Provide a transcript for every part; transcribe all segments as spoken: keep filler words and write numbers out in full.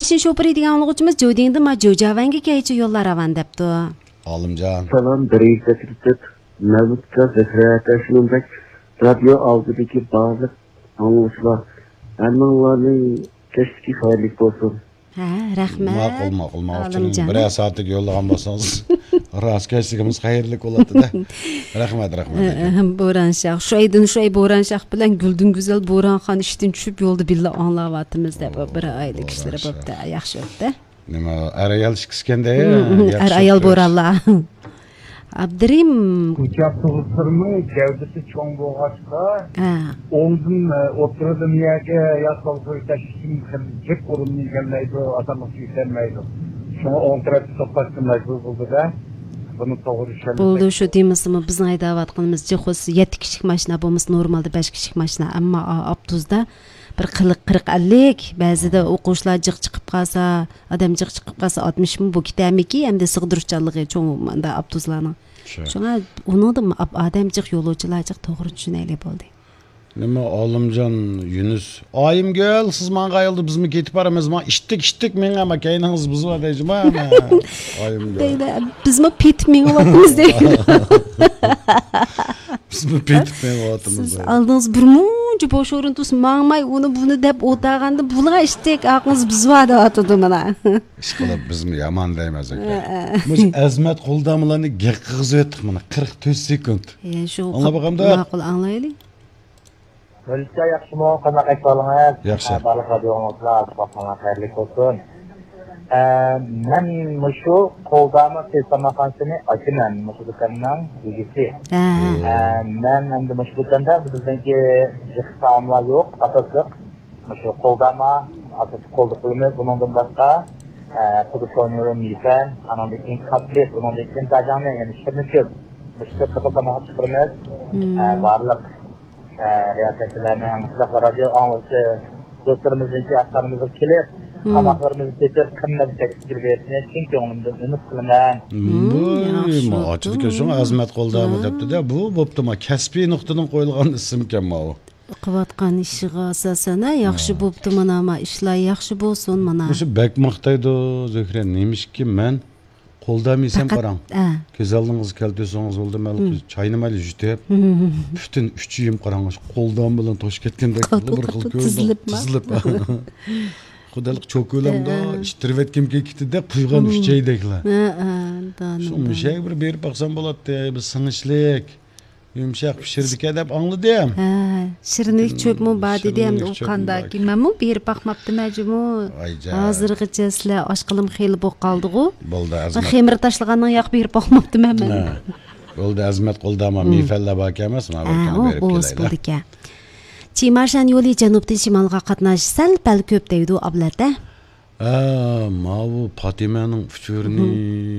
چىن شوپۇرى دېگەن ئاڭلىغۇچىمىز جودىڭدىن ما جوجاۋەنگە كەيچە يوللار راۋان دەپتۇ. ئالىمجان. سالام، بىرىنچى سەپتە تۇتۇپ، مەۋلۇت ئاكا، زەھرە ئاكا، شۇنىڭدەك رادىيو ئالدىدىكى بارلىق ئاڭلىغۇچىلار، ھەممىڭلارنىڭ كەچلىكى خەيرلىك بولسۇن. ھە، رەھمەت. ماقۇل، ماقۇل، ماقۇل. ئالىمجان. بىرەر سائەتلىك يوللىغان بولسىڭىز، راست كەچلىكىمىز خەيرلىك بولاتتى-دە. رەھمەت، رەھمەت. ئەھەم، بوران شاخ. شۇ ئايدىن شۇ ئاي بوران شاخ بىلەن گۈلدۈن گۈزەل بوران خان ئىشتىن چۈشۈپ يولدا بىللە ئاڭلاۋاتىمىز دەپ، بىر ئائىلە كىشىلىرى بوپتۇ. ياخشى بوپتۇ. نېمە، ئەر ئايال ئىككىسىكەندە، ياخشى ئەر ئايال بوپتۇ. بورانلار. ئابدۇرېھىم. كۇچا تۇغۇتلىرىنىڭ گەۋدىسى چوڭ بولغاچقا، ھە. ئوڭدىن، ئوتتۇرىدىن يەرگە ياسالغۇ تەشۋىشىم جىق ئورۇننى ئىگىلەيدۇ، ئاسانلىقچە يېتەلمەيدۇ. شۇڭا ئوڭ تەرەپتە توختاشقا مەجبۇر بولدى-دە. بۇنى توغرا چۈشەنمىسەك. بولدى، شۇ دېمىسىمۇ، بىزنىڭ ھەيدەۋاتقىنىمىز جىق خۇس يەتتە كىشىلىك ماشىنا بولمىسا، نورمالدا بەش كىشىلىك ماشىنا. ئەمما ئا-، ئاپتوبۇستا بىر قىلىق، قىرىق، ئەللىك، بەزىدە ئوقۇغۇچىلار جىق چىقىپ قالسا، ئادەم جىق چىقىپ قالسا، ئاتمىشمۇ بۇ كېتەرمىكى، ئەمدى سىغدۇرۇشچانلىقى چوڭ مۇنداق ئاپتوبۇسلارنىڭ. شۇ. شۇڭا ئۇنىڭدا ئا-، ئادەم جىق، يولۇچىلار جىق، توغرا چۈشىنەيلى بولدى. نېمە، ئالىمجان يۈنۈس، ئايىمگۈل، سىز ماڭغان يولدا بىزمۇ كېتىپ بارىمىز، ما ئىشتىك، ئىشتىك مېڭە، ما كەينىڭىز بىزۋا دەيجىما، ئايىمگۈل. دەيدۇ، بىزمۇ پېتىپ مېڭىۋاتىمىز دەيدۇ. بىزمۇ پېتىپ مېڭىۋاتىمىز سىز دەيدۇ. ئالدىڭىز بىر مۇنچە بوش ئورۇن تۇرسا، ماڭماي، ئۇنى بۇنى دەپ ئولتۇرغاندا، بۇلار ئىشتىك، ئاقىڭىز بىزۋا دەۋاتىدۇ مانا. ئىشقىلىپ بىزمۇ يامان دەيمەن زۆھرە. ھە، ھە. مۇشۇ ئەزمەت قولداملارنى گەپ قىلغۇزۇۋەتتۇق مانا، قىرىق تۆت سېكۇنت. ئە، شۇ ئاڭلاپ باقامدا؟ ماقۇل، ئاڭلايلى. مۆلىكە ياخشىمۇ؟ قانداق ئەھۋالىڭىز؟ ياخشى. ھە، بارلىق رادىيو ئاڭلىغۇچىلار، باھارىڭلار خەيرلىك بولسۇن. ئە، مەن مۇشۇ قولدامى سېلىپ سالماقچىنى ئاچىمەن، مۇشۇ دۇكاننىڭ ئىگىسى. ھە. ئە، مەن ئەمدى مۇشۇ دۇكاندا بىزنىڭكى يىغىش تائاملار يوق، ئاساسلىق مۇشۇ قولدامى، ئاساسلىق قولدا قىلىمىز. بۇنىڭدىن باشقا، ئە، پۇدۇكونيۇ، مىفەن، ئانىڭدىن كېيىن كاتلېت، ئۇنىڭدىن كېيىن داجاڭنى، يەنى شىرنىكۆل، مۇشۇ تۆت خىل تاماق ئىشلىتىمىز. مم. ئە، بارلىق ئە، رىياسەتچىلەرنىڭ، شۇنداقلا رادىيو ئاڭلىغۇچى دوستلىرىمىزنىڭكى ئاشخانىمىزغا كېلىپ، مم. تاماقلىرىمىزنى تېتىپ، قىممەت تەكلىپ بېرىشىنى چىن كۆڭلۈمدىن ئۈمىد قىلىمەن. مم، ياخشى بوپتۇ. ئاچىدىكەن، شۇڭا ئەزمەت قولدامى دەپتۇ-دە. بۇ بوپتۇ، ما، كەسپىي نۇقتىدىن قويۇلغان ئىسىمكەن ماۋۇ. قىلىۋاتقان ئىشىغا ئاساسەن، ھە، ياخشى بوپتۇ، مانا، ما، ئىشلار ياخشى بولسۇن، مانا. مۇشۇ بەك ماختايدۇ، زۆھرە. نېمىشقا مەن قولدامى يېسەم، پەقەت، قاراڭ. ھە. كۆز ئالدىڭىزغا كەلتۈرسىڭىز بولدى، مەن مم. چاينى مايلى يۇتۇپ، مم. پۈتۈن ئۈچ ئۆيۈم قاراڭ، قولدام بىلەن توشۇپ كەتكەندەك بىر خىل كۆرۈندى. تىزىلىپ. تىزىلىپ. خۇدالىق چوكۇلامدا ھە، ھە. ئىتتىرىۋەتكۈم كېلىپ كېتىدىدە، قۇيغان مم. ئۈچەيدەكلا. ھە، ھە، دانىم، شۇ دانىم. مۇشەگە بىر بېرىپ باقسام بولاتتى، بىر سىڭىشلىك. يۇمشاق پىشىرىدىكەن دەپ ئاڭلىدىم. ھە، شىرىنلىك چۆپمۇ بار دېدى، ئەمدى ئۇ قانداكى؟ مەنمۇ بېرىپ باقماپتىمەن جۇمۇ. ھازىرغىچە سىلەر ئاچقىلىم خېلى بولۇپ قالدىغۇ. بولدى، ئەزمەت. خېمىر تاشلىغاننىڭ ياق بېرىپ باقماپتىمەن مەن. ھە. بولدى، ئەزمەت قولدامى، مم. مىفەنلەر باركەن ئەمەسمۇ؟ ھە، ئۇ بولىدىكەن. چىمارشان يولى جەنۇبتىن شىمالغا قاتناش سەل پەل كۆپ دەيدۇ ئابلەتە. ھە، ماۋۇ پاتىمەنىڭ ئۇچۇرىنى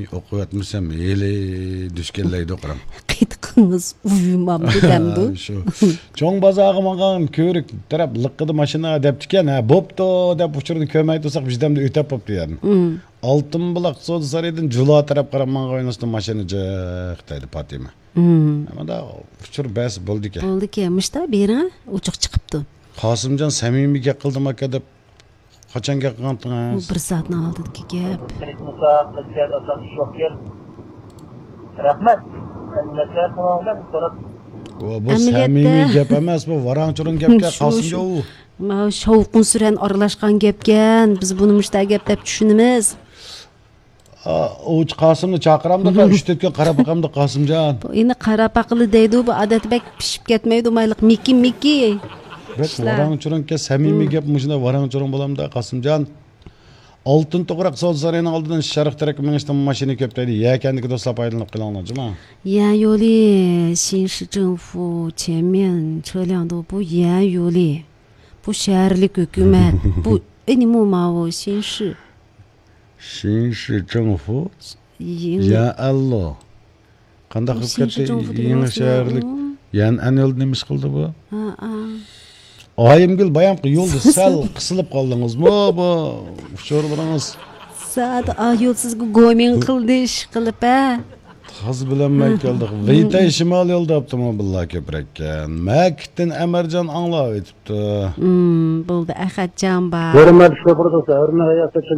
ئوقۇۋەتمىسەم، ھېلى دۈشكەنلەيدۇ، قاراڭ. قېتىقىڭىز ئۇيۇمامدۇ دەمدۇ؟ شۇ. چوڭ بازارغا ماڭغان كۆۋرۈك تەرەپ لىققىدە ماشىنا دەپتىكەن. ھە، بوپتۇ دەپ ئۇچۇرنى كۆرمەي تۇرساق، بىردەمدە ئۆتەپ بوپتۇ يەرنى. مم. ئالتۇن بۇلاق سودا سارىيىدىن جۇلا تەرەپ قاراپ ماڭغان ئۆينىڭ ئۈستىدە ماشىنا جىق دەيدۇ پاتىمە. مم. ئەمما ئۇچۇر بەس بولدىكەن. بولدىكەن، مۇشتا بېرىڭە، ئوچۇق چىقىپتۇ. قاسىمجان سەمىمىي گەپ قىلدىم ئاكا دەپ قاچان گەپ قىلغانتىڭىز؟ بۇ بىر سائەتنىڭ ئالدىدىكى گەپ. رەھمەت. بۇ سەمىمىي گەپ ئەمەس، بۇ ۋاراڭ-چۇرۇڭ گەپكەن، قاسىمجان. ماۋۇ شاۋقۇن-سۈرەن ئارىلاشقان گەپكەن. بىز بۇنى مۇشتا گەپ دەپ چۈشىنىمىز. ئا، ئوۋچى قاسىمنى چاقىرامدىقا، ئۈچ تۆت كۈن قاراپ باقامدۇ قاسىمجان. بۇ ئېنى قاراپ باققىلى دەيدۇ، بۇ ئادەتتە بەك پىشىپ كەتمەيدۇ، مايلىق مىكى، مىكى. بەك ۋاراڭ-چۇرۇڭكەن، سەمىمىي گەپ مۇشۇنداق ۋاراڭ-چۇرۇڭ بولامدا قاسىمجان. ئالتۇن توغراق سودا سارىيىنىڭ ئالدىدىن شەرق تەرەپكە مېڭىشتا ماشىنا كۆپ دەيدۇ. يەكەندىكى دوستلار پايدىلىنىپ قېلىڭلار جۇما. 沿线路，新市政府前面车辆多，不沿线路。 بۇ شەھەرلىك ھۆكۈمەت. بۇ ئېنىمۇ ماۋۇ شىنشى. شىنشى جىڭفۇ؟ يېڭى. يەنئەنلو. قانداق قىلىپ كەتتى؟ يېڭى شەھەرلىك. يەنئەن يولدا نېمە ئىش قىلدى بۇ؟ ئايىمگۈل بايامقى يولدا سەل قىسىلىپ قالدىڭىزمۇ بۇ ئۇچۇرلىرىڭىز؟ سائەت ئا يول سىزگە گومىڭ قىلدى ئىش قىلىپ ھە. تازا بىلەلمەي كەلدۇق. ۋېيتەي شىمال يولدا ئاپتوموبىللار كۆپرەككەن. مەكىتتىن ئەمەرجان ئاڭلاۋېتىپتۇ. بولدى، ئەخەتجان بار. ھۆرمەتلىك شوپۇر دوستلار، ھۆرمەتلىك رىياسەتچى